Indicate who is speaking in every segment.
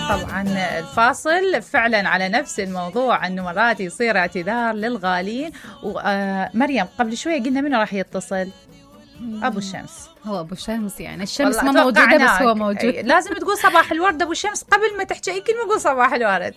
Speaker 1: طبعا الفاصل فعلا على نفس الموضوع، أنه مرات يصير اعتذار للغالين. ومريم قبل شوية قلنا منه راح يتصل؟ أبو الشمس.
Speaker 2: هو أبو الشمس، يعني الشمس ما موجودة بس هو موجود.
Speaker 1: لازم تقول صباح الورد أبو الشمس قبل ما تحكي أي كلمة، قول صباح الورد.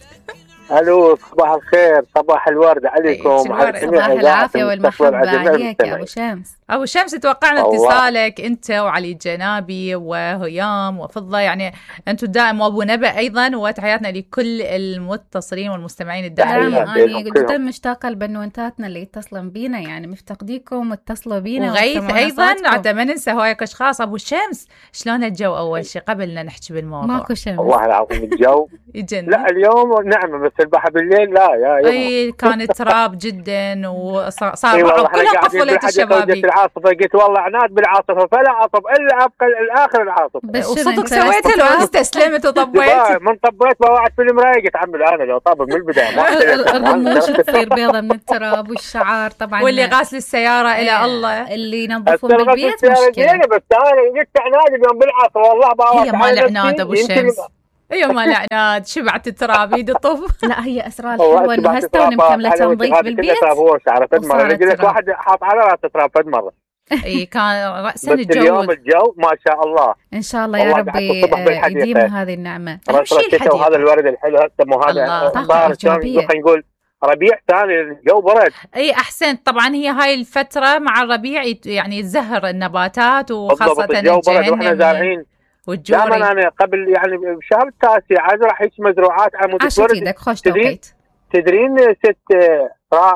Speaker 3: الو صباح الخير، صباح الورد عليكم،
Speaker 2: صباح العافيه والمحبه عليك يا ابو شمس.
Speaker 1: ابو شمس توقعنا اتصالك انت وعلي الجنابي وهيام وفضه، يعني انتم دائما، وابو نبأ ايضا، وتحياتنا لكل المتصلين والمستمعين الدائمين.
Speaker 2: انا جدا مشتاقه لبنوتاتنا اللي يتصلون بينا، يعني مفتقديكم واتصلوا بينا.
Speaker 1: وغيث ايضا حتى ما ننسى هوايك اشخاص. ابو شمس شلون الجو اول شيء قبل لا نحكي بالموضوع؟
Speaker 2: ماكو شمس
Speaker 3: والله العظيم الجو
Speaker 1: يجنن.
Speaker 3: لا اليوم نعمه، بس البحر بالليل لا يا
Speaker 1: اي كان تراب جدا وصار كلها قفلت الشبابيك.
Speaker 3: العاصفه قلت والله عناد بالعاصفه فلا عصب الا ابقى الاخر العاصفه.
Speaker 1: وصدق سويتها لو استسلمت وطبيت؟
Speaker 3: من طبيت بوعد في المرايه قلت عمي انا لو طاب من البدايه
Speaker 2: الرموش تصير بيضه من التراب والشعار طبعا.
Speaker 1: واللي غاسل السياره الى الله،
Speaker 2: اللي ينظفون بالبيت مشكله.
Speaker 3: بس انا قلت عناد اليوم بالعاصفه والله بوعد.
Speaker 1: هي ما لعناد ابو الشمس، ايوه ما لعناد، شبعت التراب يد طف.
Speaker 2: لا هي اسرار حلوه انه هسه مكمله تنظيف بالبيت.
Speaker 3: هو شعره فد مره قلت واحد حاط على راسه تراب فد مره.
Speaker 1: اي كان راسا
Speaker 3: اليوم الجو ما شاء الله،
Speaker 2: ان شاء الله يا ربي يديم هذه النعمه.
Speaker 3: وهذا الورد الحلو هسه مو هذا خلينا نقول ربيع ثاني، الجو برد.
Speaker 1: اي احسنت. طبعا هي هاي الفتره مع الربيع يعني يزهر النباتات، وخاصه
Speaker 3: الجو برد واحنا زارعين
Speaker 1: والجوري.
Speaker 3: دائما انا قبل يعني بشهر التاسع عاد راح هيك مزروعات عمود
Speaker 2: الورد. خوش توقيت.
Speaker 3: تدرين ست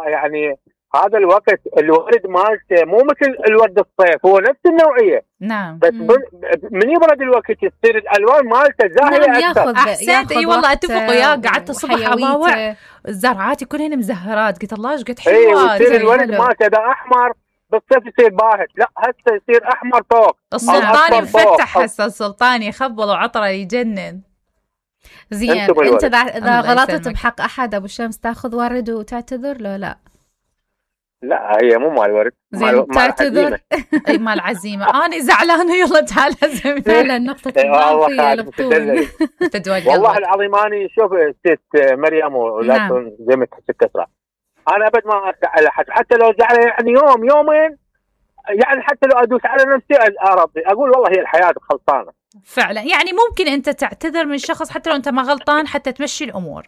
Speaker 3: يعني هذا الوقت الورد مالته مو مثل الورد الصيف، هو نفس النوعيه.
Speaker 1: نعم.
Speaker 3: بس من يبرد الوقت يصير الالوان مالته زاهيه اكثر.
Speaker 1: احسنت. اي والله اتفق وياك. قعدت الصبح اضاوع زرعاتي كلهن مزهرات، قلت الله ايش قد حلوه.
Speaker 3: يصير الورد مالته ده احمر بالصيف يصير باهت، لا هسه يصير احمر فوق.
Speaker 1: السلطاني مفتح هسه، السلطاني خبل وعطره يجنن.
Speaker 2: زين انت اذا غلطت بحق احد ابو الشمس تاخذ ورد وتعتذر له؟ لا
Speaker 3: لا هي مو مال ورد،
Speaker 2: مال تعتذر.
Speaker 1: اي مال عزيمه. انا زعلانه يلا تعال عزمني.
Speaker 2: فعلا نقطه الضعف هي البطول.
Speaker 3: والله العظيم اني شوف ست مريم ولكن زي ما تحكي تسرع، انا ابد ما ازعل احد، حتى لو زعل يعني يوم يومين، يعني حتى لو ادوس على نفسي ربي اقول والله هي الحياه خلصانه.
Speaker 1: فعلا يعني ممكن انت تعتذر من شخص حتى لو انت ما غلطان حتى تمشي الامور.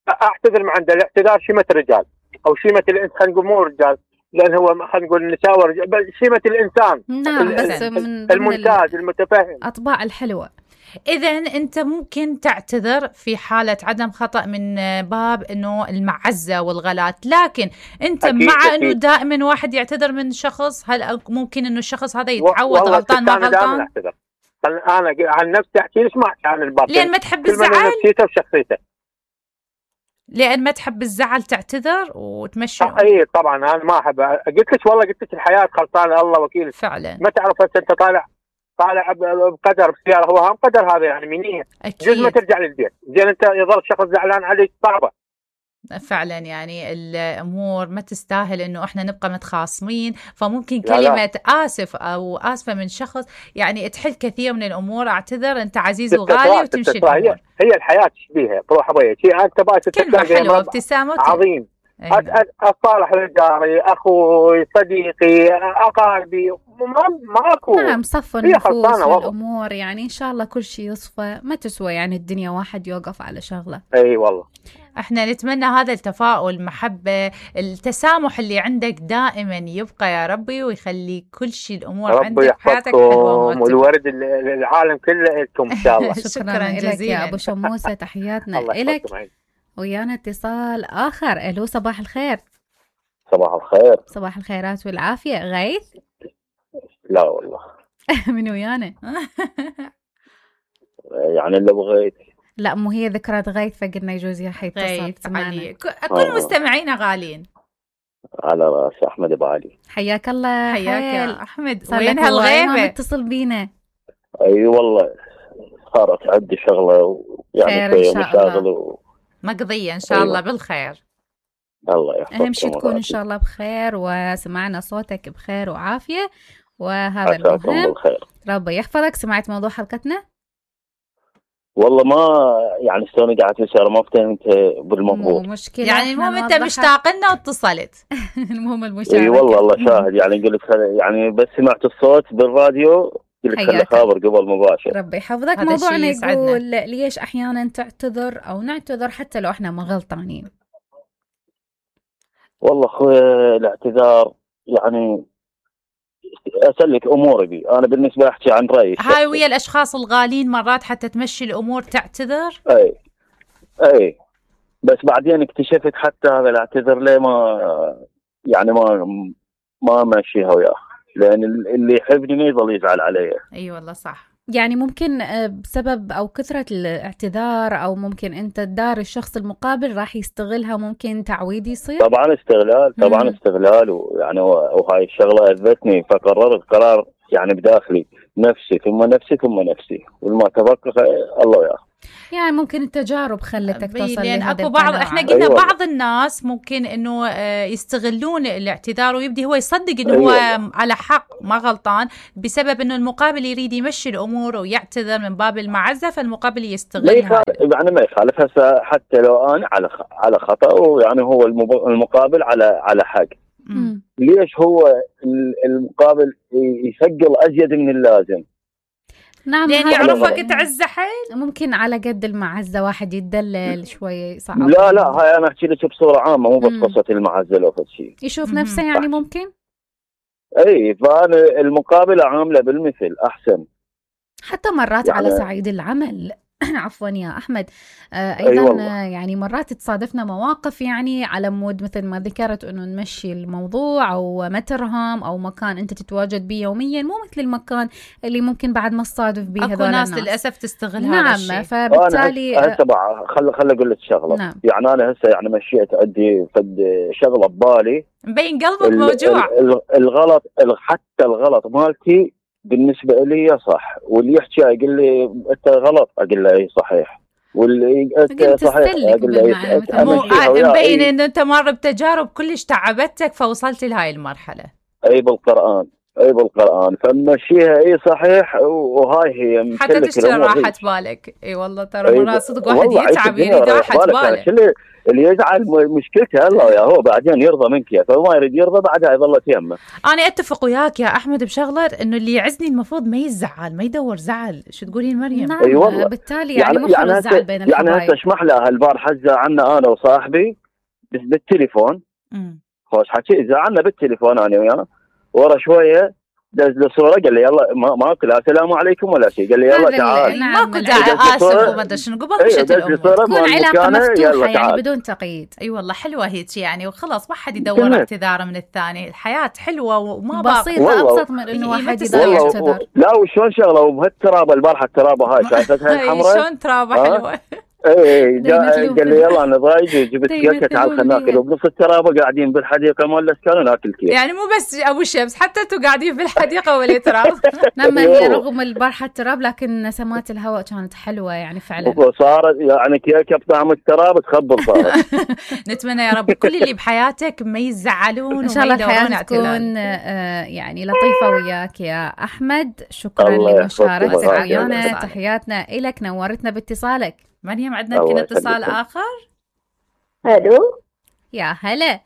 Speaker 3: اعتذر من عنده، الاعتذار شيمه الرجال او شيمه الانسان، خلينا نقول مو رجال لان هو خلينا نقول النساء ورجال، بل شيمه الانسان.
Speaker 2: نعم بس من
Speaker 3: الممتاز المتفهم
Speaker 2: اطباع الحلوه.
Speaker 1: إذا أنت ممكن تعتذر في حالة عدم خطأ من باب إنه المعزة والغلات، لكن أنت
Speaker 3: أكيد
Speaker 1: مع
Speaker 3: أكيد.
Speaker 1: إنه دائما واحد يعتذر من شخص، هل ممكن إنه الشخص هذا يتعود غلطان ما غلطان؟
Speaker 3: أنا عن نفسي أحكي ليش ما أحكي عن الباطل؟
Speaker 1: لأن ما تحب الزعل؟
Speaker 3: نفسيته وشخصيته.
Speaker 1: لأن ما تحب الزعل تعتذر وتمشي.
Speaker 3: أي طبعا أنا ما أحب، قلت لك والله قلت لك الحياة خلصانة الله وكيل.
Speaker 1: فعلا
Speaker 3: ما تعرف أنت طالع بقدر بسيارة، هو هم قدر هذا يعني منية. جزء ما ترجع للبيت، زين أنت يظل شخص زعلان عليك صعبة.
Speaker 1: فعلا يعني الأمور ما تستاهل إنه إحنا نبقى متخاصمين، فممكن كلمة آسف أو آسفة من شخص يعني تحل كثير من الأمور. أعتذر أنت عزيز وغالي وتمشي الأمور.
Speaker 3: هي الحياة تشبيها بروح أبويا شيء أنت باي
Speaker 1: كلمة حلوة ابتسامة
Speaker 3: عظيم. أصالح رجالي أخوي صديقي أقاربي ماكو.
Speaker 2: نعم صفوا النفوس والأمور، يعني إن شاء الله كل شيء يصفى. ما تسوى يعني الدنيا واحد يوقف على شغلة.
Speaker 3: أي والله
Speaker 1: احنا نتمنى هذا التفاؤل، المحبة، التسامح اللي عندك دائما يبقى يا ربي، ويخلي كل شيء الأمور عندك حياتك حلوة
Speaker 3: والورد العالم كله لكم إن شاء الله.
Speaker 1: شكرا جزيلا
Speaker 2: يا أبو شموسة، تحياتنا لك. ويانا اتصال آخر. ألو صباح الخير.
Speaker 3: صباح الخير.
Speaker 2: صباح الخيرات والعافية. غيث؟
Speaker 3: لا والله.
Speaker 1: من ويانا؟
Speaker 3: يعني اللي بغيت.
Speaker 2: لا مو هي ذكرى غيث فقلنا يجوز راح يتصل معنا.
Speaker 1: كل مستمعينا غالين.
Speaker 3: على راس أحمد أبو علي.
Speaker 2: حياك الله.
Speaker 1: حياك يا أحمد. وين هالغيبة؟
Speaker 2: متصل بينا.
Speaker 3: أي والله صارت عندي شغلة يعني في مشاغل
Speaker 1: مقضية إن شاء الله بالخير.
Speaker 3: الله يحفظك.
Speaker 2: أهم شيء تكون إن شاء الله بخير وسمعنا صوتك بخير وعافية، وهذا المهم. ربي يحفظك. سمعت موضوع حلقتنا؟
Speaker 4: والله ما يعني شلون قاعد تسأل ما فهمت بالمضبوط.
Speaker 2: مشكلة
Speaker 1: يعني المهم انت مشتاق لنا واتصلت.
Speaker 2: المهم المشاركة.
Speaker 4: اي والله الله شاهد، يعني قلت يعني بس سمعت الصوت بالراديو قلت خلي خابر قبل مباشر.
Speaker 2: ربي يحفظك. موضوعنا يقول ليش احيانا تعتذر او نعتذر حتى لو احنا ما غلطانين.
Speaker 4: والله اخوي الاعتذار يعني اسلك اموري بي، انا بالنسبه احكي عن رايي
Speaker 1: هاي ويا الاشخاص الغالين مرات حتى تمشي الامور تعتذر.
Speaker 4: اي بس بعدين اكتشفت حتى هذا الاعتذر ليه ما يعني ما ماشيها وياه، لان اللي يحبني ما يظل يزعل علي.
Speaker 1: اي والله صح.
Speaker 2: يعني ممكن بسبب او كثرة الاعتذار، او ممكن انت تدار الشخص المقابل راح يستغلها، ممكن تعويض يصير.
Speaker 4: طبعا استغلال ويعني وهاي الشغله اذتني، فقررت قرار يعني بداخلي نفسي ثم نفسي ثم نفسي، والما تفكر الله وياه.
Speaker 2: يعني ممكن التجارب خلتك توصل
Speaker 1: لان اكو بعض احنا قلنا بعض الناس ممكن انه يستغلون الاعتذار ويبدي هو يصدق انه هو على حق ما غلطان، بسبب انه المقابل يريد يمشي الامور ويعتذر من باب المعزه، فالمقابل يستغلها.
Speaker 4: يعني ما يخالف هسه حتى لو انا على خطا، ويعني هو المقابل على حق. ليش هو المقابل يثقل ازيد من اللازم؟
Speaker 2: نعم،
Speaker 1: لأن يعرفك تعز حيل.
Speaker 2: ممكن على قد المعزة واحد يتدلل شوي صعب.
Speaker 4: لا هاي أنا أحكي لك بصورة عامة، مو بس قصة المعزة لو فد شيء
Speaker 2: يشوف نفسه يعني ممكن.
Speaker 4: أي فأنا المقابلة عاملة بالمثل أحسن.
Speaker 2: حتى مرات يعني على صعيد العمل عفوا يا أحمد، أيضا يعني مرات تصادفنا مواقف يعني على مود مثل ما ذكرت أنه نمشي الموضوع أو مترهم أو مكان أنت تتواجد به يوميا، مو مثل المكان اللي ممكن بعد ما تصادف به هذول الناس
Speaker 1: للأسف تستغل
Speaker 2: هذا الشيء. نعم، فبالتالي
Speaker 4: هسه خل أقول لك شغلة. نعم. يعني أنا هسه يعني مشيت عندي شغلة ببالي
Speaker 1: مبين قلبك موجوع.
Speaker 4: الغلط حتى الغلط مالتي بالنسبة لي صح، واللي يحكي يقول لي أنت غلط أقول له أي صحيح، واللي أنت صحيح أقول له
Speaker 1: مبين إنه أنت مر بتجارب كلش تعبتك فوصلت لهاي المرحلة.
Speaker 4: أي بالقرآن فمشيها أي صحيح، وهاي هي
Speaker 1: حتى تشتري راحة بالك. اي والله ترى مرات صدق واحد يتعب يريد راحة باله.
Speaker 4: اللي يزعل مشكلته الله وياه، هو بعدين يرضى منك، فما يريد يرضى بعدها يظل يمه.
Speaker 1: انا اتفق وياك يا احمد بشغله، انه اللي يعزني المفروض ما يزعل، ما يدور زعل. شو تقولين مريم؟
Speaker 2: نعم. أي والله. بالتالي يعني مو حلو الزعل بين الحبايب.
Speaker 4: يعني هسه اسمح لها البارحه زعلنا انا وصاحبي بالتليفون. خوش حكي زعلنا بالتليفون انا وياه، ورا شويه دز له صوره قال لي يلا ما اكل السلام عليكم ولا شيء، قال لي يلا تعال.
Speaker 1: ماكو داعي اسف وما ادري شنو قبل مشت الامور
Speaker 2: تكون علاقه مفتوحه يعني بدون تقييد.
Speaker 1: اي والله حلوه هيك يعني، وخلاص ما حد يدور اعتذار من الثاني. الحياه حلوه وما
Speaker 2: بسيطه ابسط من انه واحد يدور يعتذر.
Speaker 4: لا وشلون شغله وبهالترابه البارحه الترابه هاي شايفتها الحمراء
Speaker 1: شلون ترابه حلوه.
Speaker 4: اي قال لي يلا انا ضايج جبت كيكه تعال خلينا ناكل، وبنص الترابه قاعدين بالحديقه مال الاسكان وناكل كيك.
Speaker 1: يعني مو بس ابو شمس، حتى انتم قاعدين بالحديقه ولا تراب.
Speaker 2: لما هي رغم البارحه التراب لكن نسمات الهواء كانت حلوه يعني فعلا.
Speaker 4: صارت يعني كيكه بطعم التراب تخبل صارت.
Speaker 1: نتمنى يا رب كل اللي بحياتك ما يزعلون
Speaker 2: ان شاء الله الحياه تكون يعني لطيفه وياك يا احمد. شكرا لمشاركتك ويانا، تحياتنا لك، نورتنا باتصالك.
Speaker 1: مريم عندنا يمكن اتصال آخر.
Speaker 5: الو
Speaker 2: يا هلا،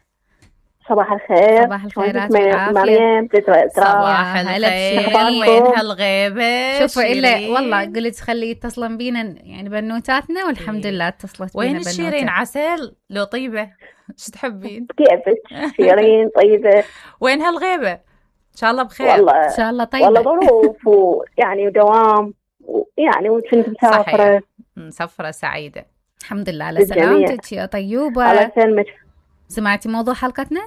Speaker 5: صباح الخير.
Speaker 2: صباح الخيرات
Speaker 5: مريم.
Speaker 1: صباح الخير. وين هالغيبة؟
Speaker 2: شوفوا إلا والله قلت خلي يتصلن بينا يعني بنوتاتنا، والحمد لله اتصلت بينا.
Speaker 1: وين الشيرين عسل لو طيبة؟ شو تحبين؟
Speaker 5: كيفك؟ شيرين طيبة.
Speaker 1: وين هالغيبة؟ إن شاء الله بخير.
Speaker 5: والله
Speaker 2: إن شاء الله طيبة.
Speaker 5: والله ظروف ويعني ودوام يعني وكنت مسافرة.
Speaker 1: مسافرة سعيدة.
Speaker 2: الحمد لله على سلامتك يا طيوبة.
Speaker 5: على سلمك.
Speaker 2: سمعتي موضوع حلقتنا؟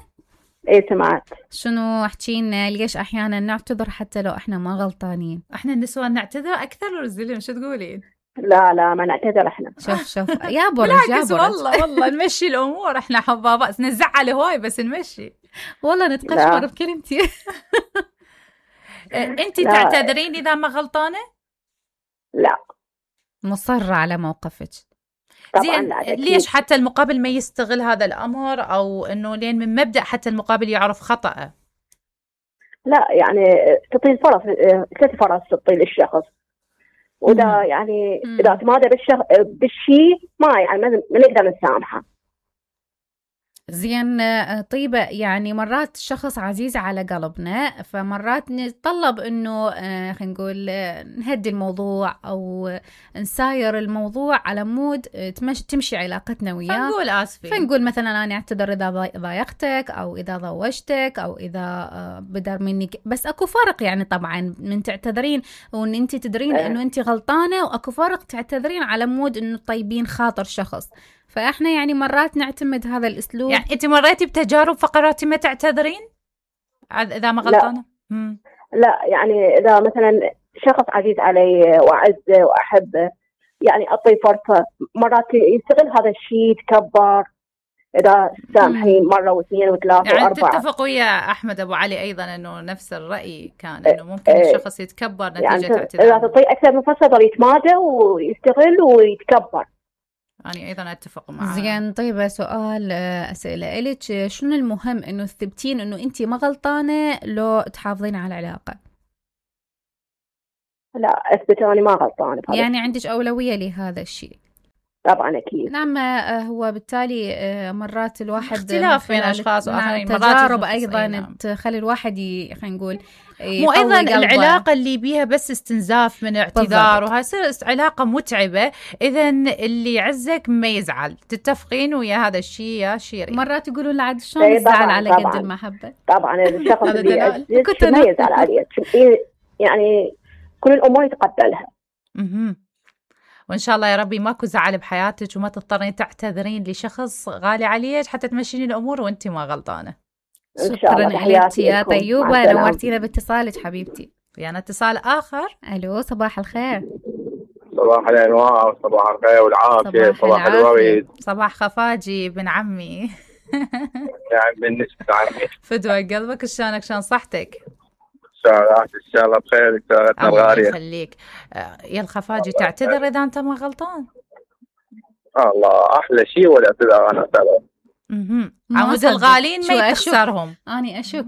Speaker 5: ايه سمعت.
Speaker 2: شنو احكينا ليش احيانا نعتذر حتى لو احنا ما غلطانين؟
Speaker 1: احنا النسوان نعتذر اكثر ورزلهم. شو تقولين؟
Speaker 5: لا ما نعتذر احنا.
Speaker 2: شوف يا برج
Speaker 1: والله نمشي الامور. احنا حبابات نزعل هواي بس نمشي.
Speaker 2: والله نتقشمر بكلمتي.
Speaker 1: انتي تعتذرين اذا ما غلطانة؟
Speaker 5: لا،
Speaker 2: مصرة على موقفك.
Speaker 1: زين ليش حتى المقابل ما يستغل هذا الأمر، أو إنه لين من مبدأ حتى المقابل يعرف خطأه؟
Speaker 5: لا يعني تعطي فرص، 3 فرص تعطي للشخص. وإذا يعني إذا تمادى بالشيء ما يعني ما نقدر نسامحه.
Speaker 2: زين طيبة، يعني مرات الشخص عزيز على قلبنا، فمرات نتطلب انه خلينا نقول نهدي الموضوع او نساير الموضوع على مود تمشي علاقتنا وياه،
Speaker 1: فنقول آسفين،
Speaker 2: فنقول مثلا أنا أعتذر إذا ضايقتك أو إذا ضوجتك أو إذا بدر مني، بس أكو فرق يعني طبعا من تعتذرين وإن أنت تدرين إنه أنت غلطانة، وأكو فرق تعتذرين على مود إنه طيبين خاطر شخص. فإحنا يعني مرات نعتمد هذا الأسلوب.
Speaker 1: يعني أنت مريتي بتجارب فقراتي ما تعتذرين إذا ما غلطانة؟
Speaker 5: لا يعني إذا مثلا شخص عزيز علي وأعزه وأحبه يعني أعطيه فرصة، مرات يستغل هذا الشيء يتكبر. إذا سامحين مرة واثنين وثلاثة
Speaker 1: يعني
Speaker 5: وأربعة.
Speaker 1: تتفق ويا أحمد أبو علي أيضا إنه نفس الرأي كان إنه ممكن الشخص يتكبر نتيجة
Speaker 5: يعني
Speaker 1: اعتذاره.
Speaker 5: إذا تعطيه أكثر من فرصة يضل يتمادى ويستغل ويتكبر.
Speaker 1: أنا أيضا أتفق معه.
Speaker 2: زين طيب، سؤال أسئلة إليك، شنو المهم إنه تثبتين إنه أنت ما غلطانة لو تحافظين على العلاقة؟
Speaker 5: لا أثبت أني ما غلطانة.
Speaker 2: يعني عندك أولوية لهذا الشيء؟
Speaker 5: طبعا أكيد.
Speaker 2: نعم. هو بالتالي مرات الواحد
Speaker 1: اختلاف بين أشخاص وآخرين،
Speaker 2: تجارب أيضا تخلي الواحد خلينا نقول
Speaker 1: مو أيضا العلاقة اللي بيها بس استنزاف من اعتذار وهاي تصير علاقة متعبة. إذا اللي يعزك ما يزعل، تتفقين ويا هذا الشيء يا شيرين؟
Speaker 2: مرات يقولون لعد شلون يزعل على قد المحبة.
Speaker 5: طبعا الشخص اللي يعزك ما يزعل عليه، يعني كل الأمور يتقبلها.
Speaker 1: وإن شاء الله يا ربي ماكو زعل بحياتك وما تضطرين تعتذرين لشخص غالي عليك حتى تمشين الأمور وانتي ما غلطانة.
Speaker 2: شكرا لك يا طيوبة، نورتينا باتصالك حبيبتي.
Speaker 1: يعني اتصال آخر.
Speaker 2: ألو، صباح الخير.
Speaker 6: صباح الأنوار، صباح الخير والعافية، صباح الورد،
Speaker 1: صباح خفاجي بن عمي.
Speaker 6: يعني بالنسبة عمي
Speaker 1: فدوى قلبك، شلونك شلون صحتك؟
Speaker 6: إن شاء الله بخير. سيارتنا الغالية
Speaker 1: الله يخليك. يا الخفاجي تعتذر إذا أنت ما غلطان؟
Speaker 6: الله أحلى شيء والاعتذار. أنا أعتذر.
Speaker 1: عمود الغالين ما يخسرهم.
Speaker 2: أنا أشك.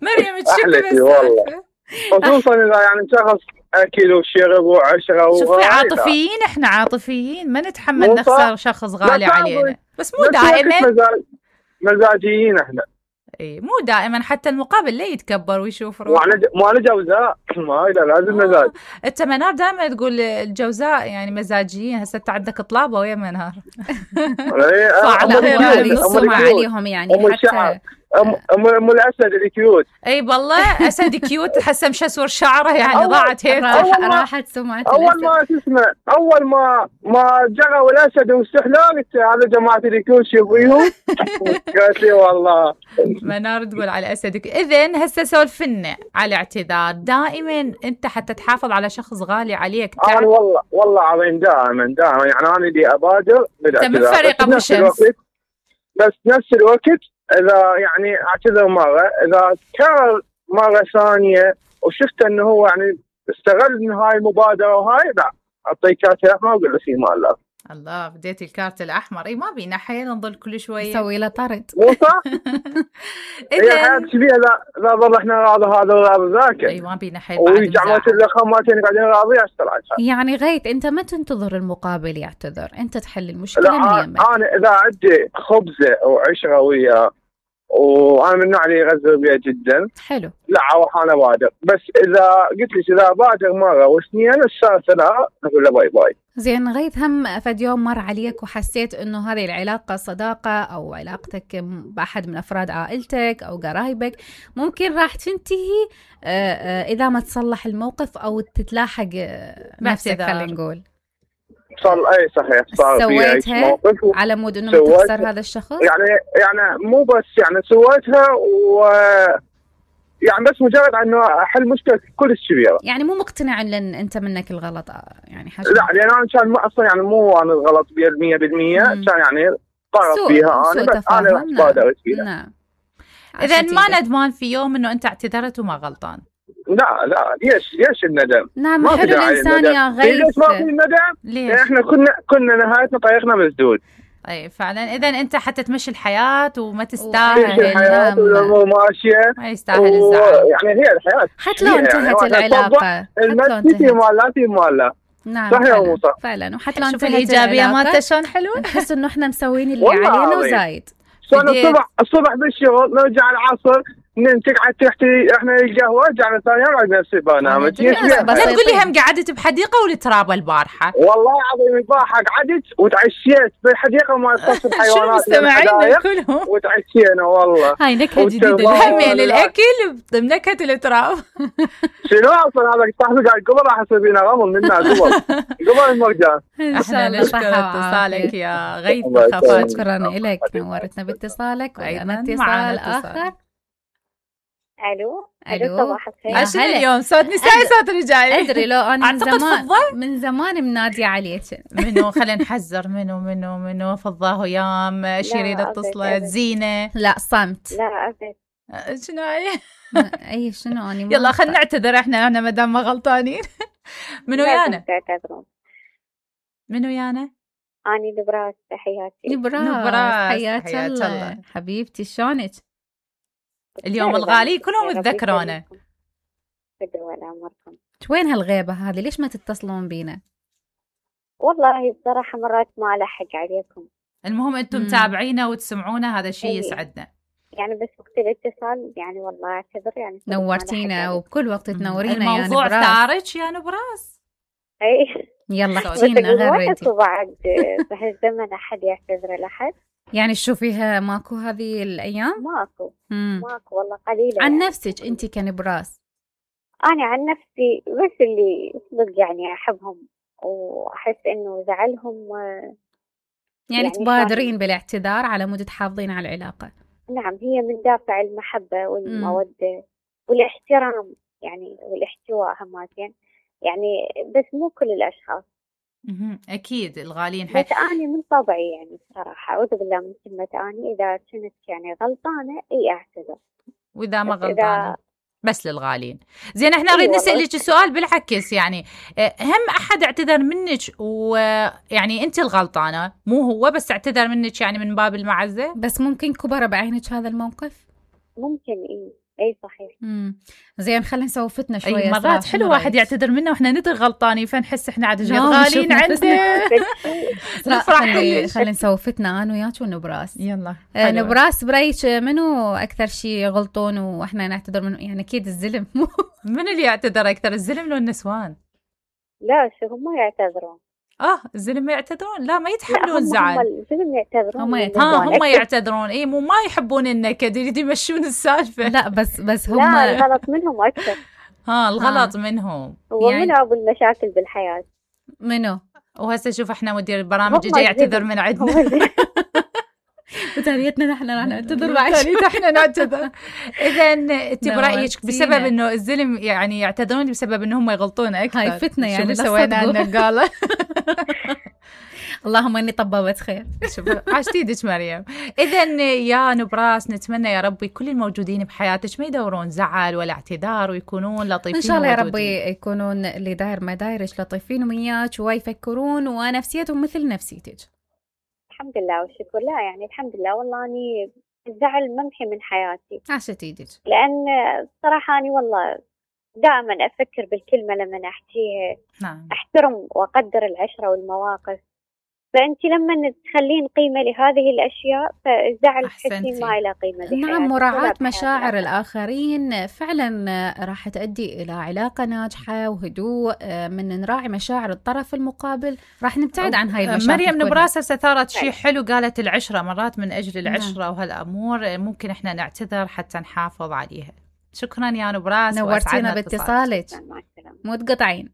Speaker 1: مريم تشك
Speaker 6: بس والله، خصوصا إذا يعني شخص أكل وشرب وعشرة.
Speaker 1: شوفي عاطفيين، إحنا عاطفيين ما نتحمل نخسر شخص غالي علينا، بس مو دائما
Speaker 6: مزاجيين إحنا.
Speaker 1: اي مو دائما، حتى المقابل لا يتكبر ويشوف روحه.
Speaker 6: ما أنا جوزاء، ما إذا لازم مزاج.
Speaker 1: انت منار دائما تقول الجوزاء يعني مزاجيين، هسه انت عندك طلابه ويا منار.
Speaker 2: يصوا عليهم يعني حتى
Speaker 6: ام الاسد الكيوت.
Speaker 1: اي والله اسد كيوت، هسه مشسور شعره يعني ضاعت هيك،
Speaker 2: راحت سمعته.
Speaker 6: اول ما جروا الاسد واستحلال هذا جماعه الكيوت شوفيهم. قالت لي والله
Speaker 1: منار تقول على اسد. اذا هسه سولفنا على اعتذار. دائما انت حتى تحافظ على شخص غالي عليك
Speaker 6: انا والله عظيم دائما يعني انا اللي ابادر
Speaker 1: بالاعتذار. من فريق ابو شمس،
Speaker 6: بس نفس الوقت إذا يعني أعتذر مرة، إذا كرر مرة ثانية وشفت إنه هو يعني استغل من هاي المبادرة وهاي، لا أعطيه كارت أحمر وأقول له في مال. الله
Speaker 1: بديتي الكارت الأحمر. إي ما بينا حيل نظل كل شوية
Speaker 2: نسوي له طرد.
Speaker 6: مو صح؟ هي حياة شبيهة. لا ظل إحنا راضي هذا وراضي ذاك.
Speaker 1: إي ما بينا حيل.
Speaker 6: ويجعمت الخماتين قاعدين راضي أشتغل.
Speaker 2: يعني غيت أنت ما تنتظر المقابل يعتذر، أنت تحل المشكلة من يمك.
Speaker 6: أنا إذا عندي خبزة وعشرة وياه وانا من النوع اللي يغزر بيها جدا،
Speaker 2: حلو،
Speaker 6: لا اروح انا بادر. بس اذا قلت لي اذا بادر مره واثنين الثالثه لا، اقول له باي باي.
Speaker 2: زين غيث، هم فد يوم مر عليك وحسيت انه هذه العلاقه صداقه او علاقتك باحد من افراد عائلتك او قرايبك ممكن راح تنتهي اذا ما تصلح الموقف او تتلاحق نفسك، خلينا نقول
Speaker 6: اي صحيح صار في
Speaker 2: موقف على مود انه تخسر هذا الشخص.
Speaker 6: يعني مو بس يعني سويتها يعني بس مجرد انه احل مشكله كلش كبيره.
Speaker 2: يعني مو مقتنع ان انت منك الغلط يعني حاجه؟
Speaker 6: لا لان انا كان اصلا يعني مو انا الغلط 100%، كان يعني طرف فيها انا، بس انا بادرت فيها.
Speaker 2: نعم.
Speaker 1: اذا ما ندمان في يوم انه انت اعتذرت وما غلطان.
Speaker 6: لا ليش الندم؟
Speaker 2: نعم حلو الانسان يا غيث.
Speaker 6: ليش ما في الندم؟
Speaker 1: ليش؟
Speaker 6: احنا كنا نهايتنا طريقنا مسدود.
Speaker 1: اي فعلا. اذا انت حتى تمشي الحياه وما تستاهل
Speaker 6: الحياه مو ماشيه،
Speaker 1: ما يستاهل الزعل.
Speaker 6: يعني هي الحياه
Speaker 2: حتى لو انتهت العلاقه،
Speaker 6: المسكتي مالاتي ماله.
Speaker 2: نعم
Speaker 6: صحيح
Speaker 2: فعلا. وحتى لو
Speaker 1: شوف الايجابيه مالته شلون حلوه.
Speaker 2: نحس انه احنا مسوين اللي علينا وزايد.
Speaker 6: الصبح بالشغل نرجع العصر تقعد تحكي احنا القهوه، رجعنا ثاني يوم على نفسي برنامج.
Speaker 1: لا تقول لي هم قعدت بحديقه والتراب البارحه.
Speaker 6: والله العظيم البارحه قعدت وتعشيت بالحديقه مال قصر الحيوانات
Speaker 1: كلهم
Speaker 6: وتعشينا. والله
Speaker 1: هاي نكهه جديده همين للاكل بنكهه التراب.
Speaker 6: شنو اصلا هذا صاحبي قال قبل راح يصير فينا غمض منا قبل المرجان.
Speaker 1: احنا نشكر اتصالك يا غيث
Speaker 2: خفاج. شكرا لك، نورتنا باتصالك. وأيضا اتصال اخر.
Speaker 7: الو صباح الخير.
Speaker 1: شنو اليوم صوت نسائي صوت رجالي؟
Speaker 2: ادري لو انا من زمان منادي عليك.
Speaker 1: منو خلينا نحذر منو فضاه يام شيرين اتصلت زينه.
Speaker 2: لا صمت.
Speaker 7: لا ابد.
Speaker 1: شنو هاي؟
Speaker 2: اي شنو اني
Speaker 1: يلا خلينا نعتذر احنا ما دام ما غلطانين. منو يانا؟ منو يانا؟
Speaker 7: اني نبراس. تحياتي
Speaker 2: نبراس. حياك الله حبيبتي. شلونك
Speaker 1: اليوم؟ الغالي كلهم يتذكرونه.
Speaker 2: وين هالغيبة هذه؟ ليش ما تتصلون بينا؟
Speaker 7: والله بصراحة مرات ما ألحق عليكم.
Speaker 1: المهم أنتم متابعينا وتسمعونا، هذا شيء يسعدنا.
Speaker 7: يعني بس وقت الاتصال يعني والله أعتذر. يعني
Speaker 2: نورتينا وبكل وقت تنورينا.
Speaker 1: الموضوع ثارج يا نبراس.
Speaker 7: أي
Speaker 2: يلا احكينا غير انتي.
Speaker 7: بعد بهالزمن أحد يعتذر لأحد.
Speaker 2: يعني تشوفيها ماكو هذه الأيام؟
Speaker 7: ماكو والله قليلة.
Speaker 2: عن
Speaker 7: يعني.
Speaker 2: نفسك أنت كنبراس؟
Speaker 7: أنا عن نفسي بس اللي صدق يعني أحبهم وأحس إنه زعلهم
Speaker 2: يعني تبادرين بالاعتذار على مود تحافظين على العلاقة.
Speaker 7: نعم، هي من دافع المحبة والمودة والاحترام يعني والاحتواء هماتين يعني، بس مو كل الأشخاص.
Speaker 1: أكيد الغالين
Speaker 7: بس أنا من طبعي يعني بصراحة أعوذ بالله من كلمة أنا إذا كنت يعني غلطانة أعتذر،
Speaker 1: وإذا ما غلطانة بس للغالين. زين احنا نريد نسألك سؤال بالعكس، يعني هم أحد اعتذر منك ويعني أنت الغلطانة مو هو، بس اعتذر منك يعني من باب المعزة؟
Speaker 2: بس ممكن كبر بعينك هذا الموقف؟
Speaker 7: ممكن اي صحيح.
Speaker 2: زين خلينا نسوي فتنة شوية.
Speaker 1: أي مرات حلو واحد يعتذر منا واحنا ندري غلطانين، فنحس احنا عاد غالين عنده.
Speaker 2: خلينا نسوي فتنة انا وياك ونبراس.
Speaker 1: يلا
Speaker 2: نبراس برايك منو اكثر شيء يغلطون واحنا نعتذر منه؟ يعني اكيد الزلم.
Speaker 1: من اللي يعتذر اكثر، الزلم لو النسوان؟
Speaker 7: لا شو هم يعتذرون.
Speaker 1: الزلم يعتذرون؟ لا ما يتحملون زعل.
Speaker 7: الزلم يعتذرون.
Speaker 1: هم يعتذرون. اي مو ما يحبون النكد، يريدوا يمشون السالفه.
Speaker 2: لا بس هم
Speaker 7: لا الغلط منهم اكثر.
Speaker 1: الغلط منهم.
Speaker 7: ومن ابو المشاكل بالحياه
Speaker 2: منو؟
Speaker 1: وهسه شوف احنا مدير البرامج جاي يعتذر من عندنا.
Speaker 2: وتاريتنا نحن راح نعتذر بعد.
Speaker 1: احنا نعتذر. اذا انت برايك بسبب انه الزلم يعني يعتذرون بسبب انه هم يغلطون اكثر؟
Speaker 2: هاي فتنه يعني
Speaker 1: سوينا لنا قاله.
Speaker 2: اللهم اني طببت خير.
Speaker 1: شوف عاشتيدك مريم. اذا يا نبراس نتمنى يا ربي كل الموجودين بحياتك ما يدورون زعل ولا اعتذار ويكونون لطيفين
Speaker 2: ان شاء الله يا ربي، يكونون اللي داير ما دايرش لطيفين وياك ويفكرون ونفسيتهم مثل نفسيتك.
Speaker 7: الحمد لله والشكر. لا يعني الحمد لله والله اني الزعل ممحي من حياتي.
Speaker 2: عاشت ايدك.
Speaker 7: لان صراحه اني والله دائما افكر بالكلمه لما احكيها.
Speaker 1: نعم.
Speaker 7: احترم واقدر العشره والمواقف، فانت لما تخلين قيمه لهذه الاشياء فالزعل تحسين ما له قيمه.
Speaker 2: نعم، مراعاه مشاعر الاخرين فعلا راح تؤدي الى علاقه ناجحه وهدوء. من نراعي مشاعر الطرف المقابل راح نبتعد عن هاي المشاكل.
Speaker 1: مريم نبراس ثارت شيء حلو، قالت العشره مرات من اجل العشره وهالامور ممكن احنا نعتذر حتى نحافظ عليها. شكرا يا نبراس،
Speaker 2: نورتينا باتصالك. مو تقطعين.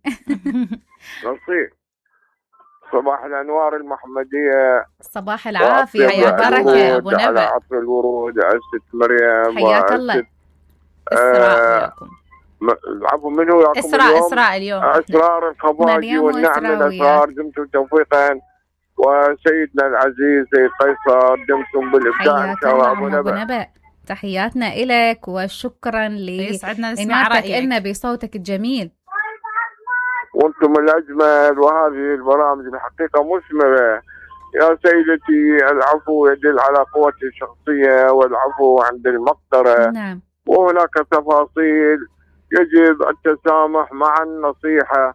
Speaker 6: صباح الأنوار المحمدية.
Speaker 2: صباح العافية يا بركة أبو نبأ.
Speaker 6: على عطر الورود عزت مريم.
Speaker 2: حياك الله.
Speaker 1: إسراء
Speaker 6: عفوا منو ياكم
Speaker 1: إسراء اليوم.
Speaker 6: أسرار الخباجي والنعم الأسرار دمتم توفيقا، وسيدنا العزيز سيد قيصر دمتم بالإبداع إن شاء الله.
Speaker 2: أبو نبأ تحياتنا إلك وشكرا لإناتك إلنا بصوتك الجميل.
Speaker 6: وانتم الأجمل، وهذه البرامج الحقيقة مثمرة يا سيدتي العفو يدل على قوة الشخصية والعفو عند المقدرة.
Speaker 2: نعم.
Speaker 6: وهناك تفاصيل يجب التسامح مع النصيحة.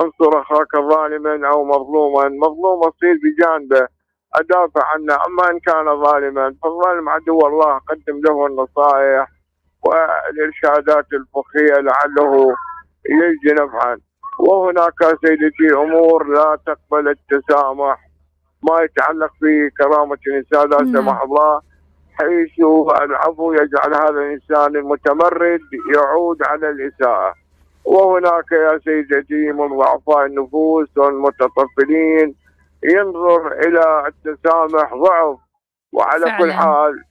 Speaker 6: انصر اخاك ظالما او مظلوما، مظلوم اصير بجانبه ادافع عنه، اما ان كان ظالما فالظالم عدو الله، قدم له النصائح والارشادات الفقهية لعله يجدي نفعا. وهناك سيدتي امور لا تقبل التسامح، ما يتعلق بكرامة الانسان لا سمح الله، حيث العفو يجعل هذا الانسان المتمرد يعود على الاساءة. وهناك يا سيدتي من ضعفاء النفوس والمتطفلين ينظر إلى التسامح ضعف. وعلى فعلا. كل حال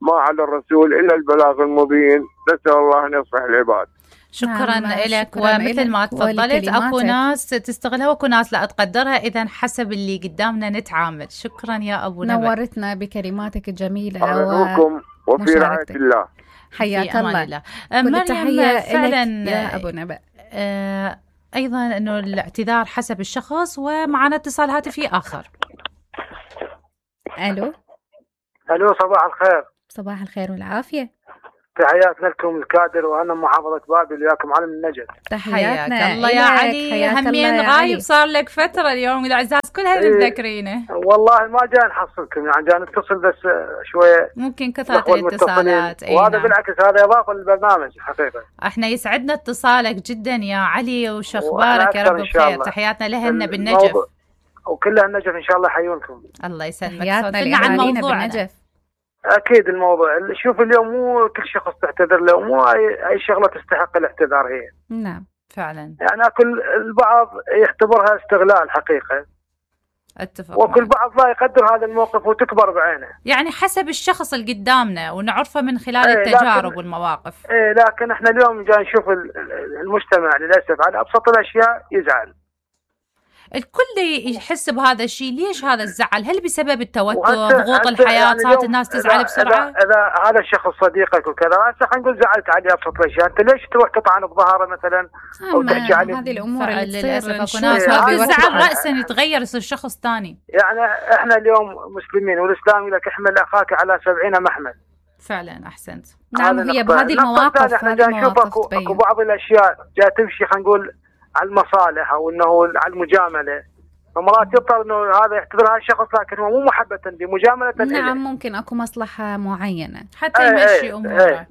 Speaker 6: ما على الرسول إلا البلاغ المبين، نسأل الله أن يصلح العباد.
Speaker 1: شكرا لك. ومثل ما تفضلت اكو ناس تستغلها واكو ناس لا تقدرها، اذا حسب اللي قدامنا نتعامل. شكرا يا ابو نبأ،
Speaker 2: نورتنا بكلماتك الجميلة
Speaker 6: وفي رعاية الله.
Speaker 2: حياك الله.
Speaker 1: مريم فعلا
Speaker 2: يا ابو نبأ.
Speaker 1: ايضا انه الاعتذار حسب الشخص. ومعنا اتصال هاتفي اخر.
Speaker 8: الو صباح الخير.
Speaker 2: صباح الخير والعافية.
Speaker 8: تحياتنا لكم الكادر وانا محافظة بابل وياكم علم النجد.
Speaker 2: تحياتنا
Speaker 1: الله يا علي. همين غايب صار لك فترة، اليوم الاعزاز كلها متذكرينه.
Speaker 8: والله ما جاي نحصلكم، يعني جاي نتصل بس شوية،
Speaker 1: ممكن كثرة الاتصالات.
Speaker 8: وهذا بالعكس هذا يضاف للبرنامج حقيقة.
Speaker 1: احنا يسعدنا اتصالك جدا يا علي، وش اخبارك؟ يا رب بخير. تحياتنا لهن بالنجف
Speaker 8: وكلها النجف ان شاء الله يحيونكم.
Speaker 1: الله يسلمك.
Speaker 2: تحياتنا عن موضوعنا.
Speaker 8: اكيد الموضوع، شوف اليوم مو كل شخص تعتذر له، مو اي شغله تستحق الاعتذار هي.
Speaker 2: نعم
Speaker 1: فعلا.
Speaker 8: يعني كل البعض يعتبرها استغلال حقيقه.
Speaker 1: اتفق.
Speaker 8: وكل بعض لا يقدر هذا الموقف وتكبر بعينه.
Speaker 1: يعني حسب الشخص اللي قدامنا ونعرفه من خلال التجارب والمواقف.
Speaker 8: لكن احنا اليوم جاي نشوف المجتمع للاسف على ابسط الاشياء يزعل.
Speaker 1: الكل يحس بهذا الشيء. ليش هذا الزعل؟ هل بسبب التوتر، ضغوط الحياة، صارت الناس تزعل بسرعة؟
Speaker 8: إذا هذا الشخص صديقك وكذا، هسه حنقول زعلت عليه أبسط الأشياء، أنت ليش تروح تطعن بظهره مثلا أو تحكي عليه؟
Speaker 2: هذه الأمور اللي
Speaker 1: للأسف أكو ناس ما بيزعل رأسا يتغير يصير شخص ثاني.
Speaker 8: يعني إحنا اليوم مسلمين، والإسلام يقول لك احمل أخاك على 70 محمل.
Speaker 1: فعلا أحسنت.
Speaker 2: نعم هي بهذه المواقف.
Speaker 8: احنا جاي نشوف أكو بعض الأشياء جاي تمشي، خلينا نقول على المصالح أو إنه على المجاملة. فمرات يضطر انه هذا يعتبر هذا الشخص، لكن هو مو محبة بمجاملة.
Speaker 2: نعم ممكن اكو مصلحة معينة
Speaker 1: حتى يمشي اموره.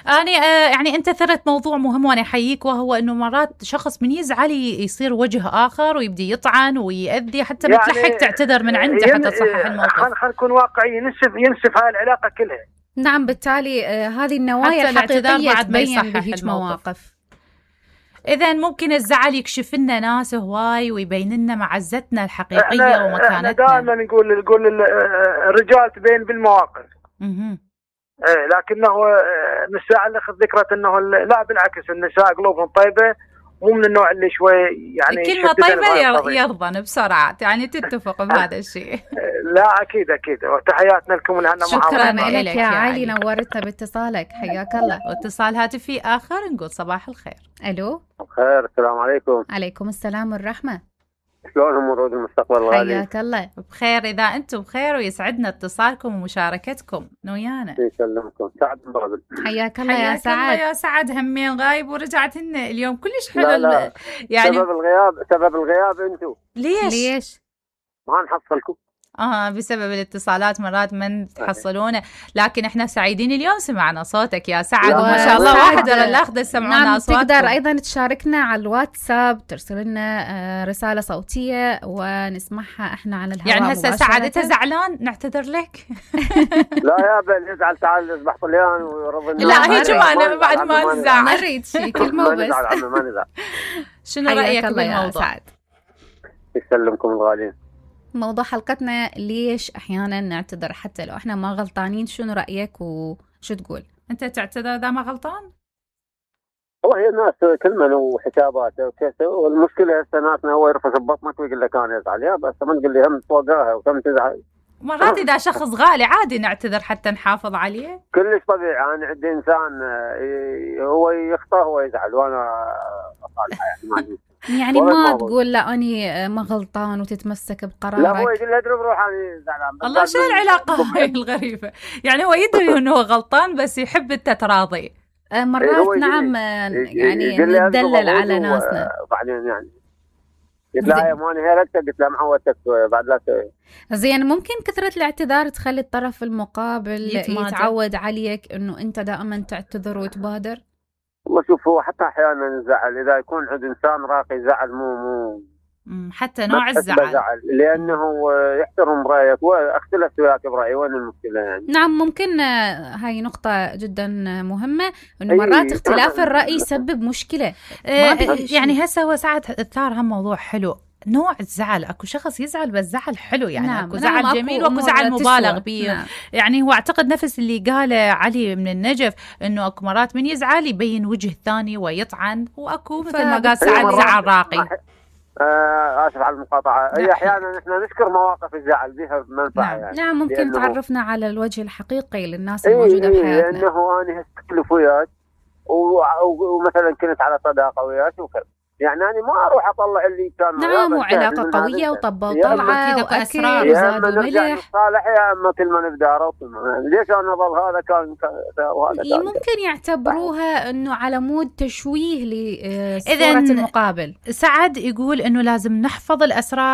Speaker 1: أنا يعني أنت ثرت موضوع مهم وأنا أحييك، وهو إنه مرات شخص من يزعل يصير وجه آخر ويبدي يطعن ويأذي، حتى يعني بتلحق تعتذر من عنده حتى تصحح الموقف.
Speaker 8: خلينا نكون واقعيين، ينسف هاي العلاقة كلها.
Speaker 2: نعم بالتالي هذه النوايا الحقيقية تبين بهيج مواقف.
Speaker 1: إذا ممكن الزعل يكشف لنا ناس هواي ويبين لنا معزتنا الحقيقية ومكانتنا.
Speaker 8: احنا دائما نقول الرجال تبين بالمواقف. لكنه النساء اللي ذكرت انه لا بالعكس، النساء قلوبهم طيبة، مو من النوع اللي شوي يعني
Speaker 1: كلمة طيبة يرضن بسرعة، يعني تتفق بهذا الشيء.
Speaker 8: لا أكيد وتحياتنا لكم لهنا.
Speaker 2: شكرا لك يا علي، نورتنا باتصالك. حياك الله.
Speaker 1: واتصال هاتفي آخر، نقول صباح الخير.
Speaker 2: ألو.
Speaker 4: خير، السلام عليكم.
Speaker 2: عليكم السلام والرحمة.
Speaker 4: شلون امور المستقبل الغالي؟
Speaker 2: حياك الله.
Speaker 1: بخير إذا أنتم بخير، ويسعدنا اتصالكم ومشاركتكم ويانا.
Speaker 4: يسلمكم. سعد من بابل.
Speaker 2: حياك الله يا سعد.
Speaker 1: يا سعد، همين غايب ورجعت لنا اليوم كلش حلو.
Speaker 4: لا.
Speaker 1: يعني
Speaker 4: سبب الغياب انتم.
Speaker 1: ليش
Speaker 4: ما نحصلكم؟
Speaker 1: بسبب الاتصالات مرات ما تحصلونه، لكن احنا سعيدين اليوم سمعنا صوتك يا سعد، وما شاء الله واحد ولا الاخذ سمعونا اصواتكم.
Speaker 2: تقدر ايضا تشاركنا على الواتساب، ترسل لنا رسالة صوتية ونسمعها احنا على الهواء.
Speaker 1: يعني هسه سعد انت زعلان نعتذر لك؟
Speaker 4: لا يا بل يزعل، تعال اصبح طليان ويرضى.
Speaker 1: لا هي جمانة بعد ما نزعل.
Speaker 2: ما نريد شيء، كلمة بس.
Speaker 4: ما نزعل.
Speaker 1: شنو رأيك بالموضوع؟
Speaker 4: يسلمكم الغالين.
Speaker 2: موضوع حلقتنا ليش أحيانا نعتذر حتى لو إحنا ما غلطانين. شنو رأيك وشو تقول؟
Speaker 1: أنت تعتذر إذا ما غلطان؟
Speaker 4: والله الناس كلمة وحسابات وكذا، والمشكلة هسه ناسنا هو يرفس ببطنك ويقول لك أنا أزعل، يا بس ما تقول لي هم فوقاها وكم تزعل.
Speaker 1: مرات إذا شخص غالي عادي نعتذر حتى نحافظ عليه.
Speaker 4: كلش طبيعي. أنا عندي إنسان هو يخطأ هو يزعل وأنا أصالحه، يعني ما عندي.
Speaker 2: يعني ما تقول لا أني ما غلطان وتتمسك بقرارك.
Speaker 3: لا هو يقول له اضرب روح أنا زعلان.
Speaker 1: الله شو العلاقة هاي الغريبة؟ يعني هو يدري انه هو غلطان بس يحب انت تراضي.
Speaker 2: مرات نعم يعني ندلل على ناسنا.
Speaker 3: بعدين يعني قلت لها يا ماني هيرتك، قلت لها معودتك بعد لا
Speaker 2: زين. ممكن كثرة الاعتذار تخلي الطرف المقابل يتعود عليك انه انت دائما تعتذر وتبادر.
Speaker 3: والله شوف هو حتى احيانا الزعل اذا يكون عند انسان راقي زعل مو
Speaker 1: حتى نوع الزعل
Speaker 3: لانه يحترم رايك واختلف وياك برايي، وين المشكله يعني؟
Speaker 2: نعم ممكن هاي نقطه جدا مهمه انه مرات اختلاف الراي يسبب مشكله.
Speaker 1: يعني هسه هو ساعات اثار هم موضوع حلو، نوع الزعل. اكو شخص يزعل بس زعل حلو يعني.
Speaker 2: نعم.
Speaker 1: اكو زعل جميل واكو زعل مبالغ به.
Speaker 2: نعم.
Speaker 1: يعني هو اعتقد نفس اللي قاله علي من النجف انه اكو مرات من يزعل يبين وجه ثاني ويطعن، واكو مثل ما قال سعد زعل راقي.
Speaker 3: اسف على المقاطعه. هي احيانا احنا نذكر مواقف الزعل بها منفعه.
Speaker 2: نعم. يعني نعم ممكن تعرفنا على الوجه الحقيقي للناس الموجوده بحياتنا.
Speaker 3: لانه انا اختلف وياك ومثلا كنت على صداقه وياك وكذا، يعني أنا ما أروح أطلع اللي كان.
Speaker 2: نعم وعلاقة قوية وطبة وطلعة وأكل وزاد وملح.
Speaker 3: صالح يا أما كل ما نبدأ ليش أنا أظل هذا كان وهذا كان.
Speaker 2: ممكن يعتبروها إنه على مود تشويه لصورة المقابل.
Speaker 1: سعد يقول إنه لازم نحفظ الأسرار